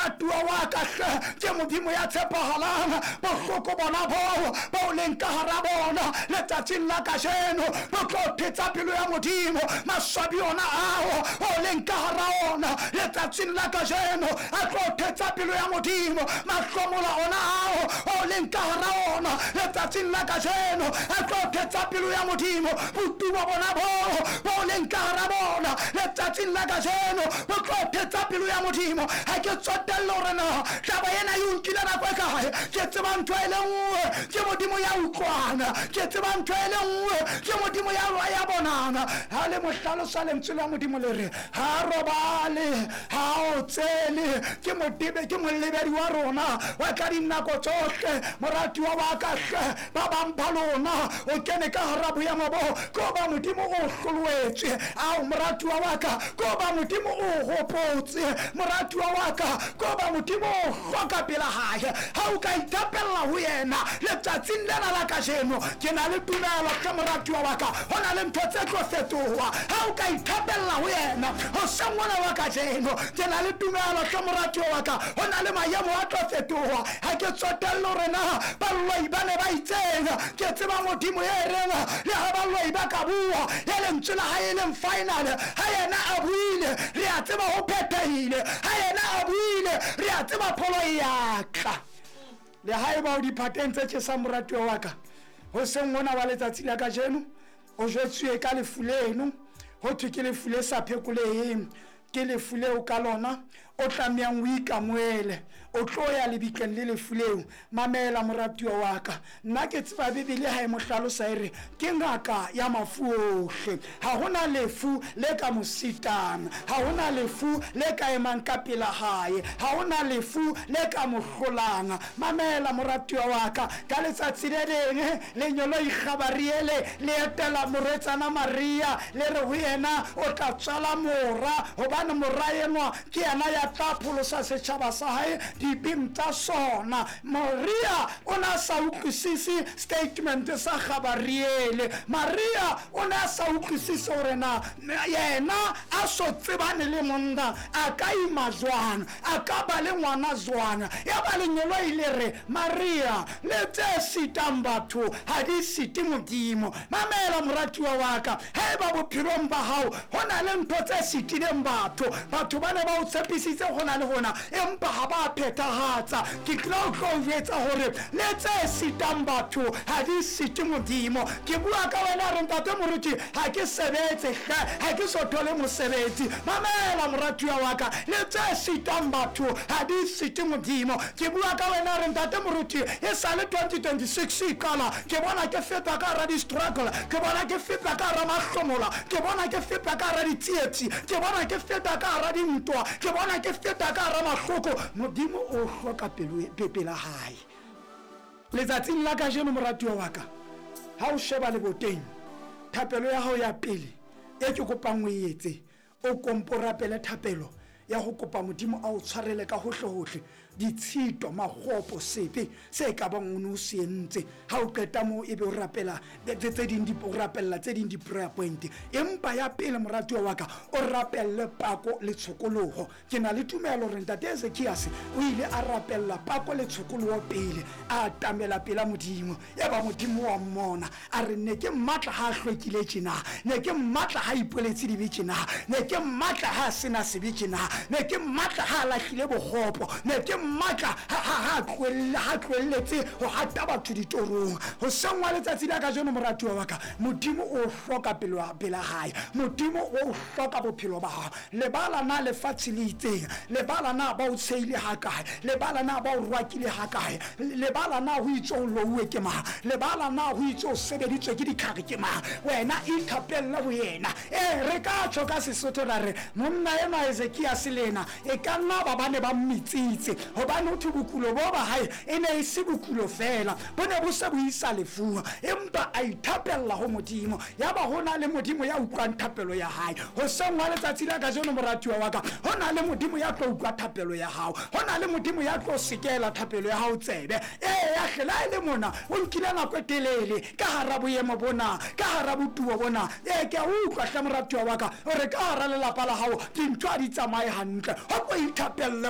Moratuwa wa ka hle, ke Modimo ya tshepahalang. Bohloko bona boo bo leng ka hara bona letsatsing la kajeno bo tlo thetsa pelo ya Modimo. Maswabi ona ao o leng ka hara ona letsatsing la kajeno a tlo thetsa pelo ya Modimo. Mahlomola ona ao o leng ka hara ona letsatsing la kajeno a tlo thetsa pelo ya Modimo. Botumo bona boo bo leng ka hara bona letsatsing la kajeno bo tlo thetsa pelo ya Modimo. Ha ke tsotelle hore na taba ena e o nkile nako e kae, ke tseba ntho e le nngwe, ke Modimo ya utlwana. Ke tseba ntho e le nngwe, ke Modimo ya ya bonang. Ha le mo hlalosa lentswe la Modimo le re ha robale, ha o tsele, ke modebe, ke molebedi wa rona wa ka dinako tsohle. Moratuwa wa ka hle, ba bang ba lona o kene ka hara boemo bo ko ba Modimo o hloloetswe. Ao moratuwa wa ka, ko ba Modimo o hopotse. Moratuwa wa ka, ko ba Modimo o hloka pela hae. Ha o ka ithapella ho yena letsatsing lena la kajeno, ke na le tumelo hle moratuwa wa ka, ho na le ntho tse tlo fetoha. Ha o ka ithapella ho yena hoseng ona wa kajeno, ke na le tumelo hle moratuwa wa ka, ho na le maemo a tlo fetoha. Ha ke tsotelle hore na baloi ba ne ba itseng, ke tseba Modimo e reng le ha baloi ba ka bua, e lentswe la hae e leng final. Ha yena a buile, re a tseba ho phethehile. Ha yena a buile, re a tseba pholo e ya tla. Le ha eba o diphateng tse tjhesang moratuwa wa ka, hoseng hona wa letsatsi la kajeno o jwetsuwe ka lefu leno, ho thwe ke lefu le sa phekoleheng, ke lefu leo ka lona o tlamehang o ikamoele, o tlo ya lebitleng le lefu leo. Mamela moratuwa wa ka, nna ke tseba Bibele ha e mo hlalosa e re ke ngaka ya mafu ohle. Ha hona lefu le ka mo sitang, ha hona lefu le ka emang ka pela hae, ha hona lefu le ka mo hlolang. Mamela moratuwa wa ka, ka letsatsi le leng lenyoloi Gabariele le etela morwetsana Maria, le re ho yena o tla tswala mora, hobane mora enwa ke yena ya tla pholosa setjhaba sa hae dibeng tsa sona. Maria o ne a sa utlwisise statement sa Gabariele. Maria o ne a sa utlwisise hore na yena a so tsebane le monna a ka ima jwang, a ka ba le ngwana jwang. Ya ba lenyoloi le re, Maria, le tse sitang batho ha di site Modimo. Mamela moratuwa wa ka, haeba bophelong ba hao ho na le ntho tse sitileng batho, batho ba ne ba o tshepisitse hona le hona empa ha ba phethahatsa, ke tlile ho tlo o jwetsa hore le tse sitang batho ha di site Modimo. Ke bua ka wena re ntate moruti, ha ke sebetse hle, ha ke so thole mosebetsi. Mamela moratuwa wa ka, le tse sitang batho ha di site Modimo. Ke bua ka wena re ntate moruti, e sale 2026 e qala, ke bona ke feta ka hara di-struggle, ke bona ke feta ka hara mahlomola, ke bona ke feta ka hara ditsietsi, ke bona ke feta ka hara dintwa, ke bona ke feta ka hara mahloko. Modimo o hloka pela hae. Letsatsing la kajeno moratuwa wa ka, ha o sheba leboteng, thapelo ya hao ya pele e ke kopang o e etse, o kompo rapele thapelo ya ho kopa Modimo a o tshwarele ka hohle-hohle ditshito, makgopo, sebe se ka bang o ne o se entse. Ha o qeta moo ebe o rapela tse ding, o rapella tse ding di-prayer point. Empa ya pele moratuwa wa ka, o rapelle pako le tshokoloho. Ke na le tumelo hore ntate Ezekiase o ile a rapella pako le tshokoloho pele a atamela pela Modimo. Yaba Modimo wa mmona, a re, ne ke mmatla ha a hlwekile tjena, ne ke mmatla ha a ipoletse dibe tjena, ne ke mmatla ha a sena sebe tjena, ne ke mmatla ha a lahlile bokgopo, ne ke mmatla ha a tlohelletse ho hata batho ditorong. Hoseng wa letsatsi la kajeno moratuwa wa ka, Modimo o hloka pela hae, Modimo o hloka bophelo ba hao. Lebala na lefatshe le itseng, lebala na ba o tshehile hakae, lebala na ba o rwakile hakae, lebala na ho itse o louwe ke mang, lebala na ho itse o sebeditswe ke ditlhare ke mang. Wena ithapelle ho yena. Ee, re ka tjho ka Sesotho ra re monna enwa Ezekiase le yena e ka nna ba ba ne ba mmitsitse, hobane ho thwe bokulo bo ba hae e ne e se bokulo feela, bo ne bo se bo isa lefung, empa a ithapella ho Modimo. Yaba ho na le Modimo ya utlwang thapelo ya hae. Hoseng wa letsatsi la kajeno moratuwa wa ka, ho na le Modimo ya tlo utlwa thapelo ya hao, ho na le Modimo ya tlo sekela thapelo ya hao tsebe. Eya hle, le ha e le mona o nkile nako e telele ka hara boemo bona, ka hara botubo bona. Ee, ke a utlwa hle moratuwa wa ka, o re ka hara lelapa la hao dintho ha di tsamaye hantle. Ho ko ithapelle ho.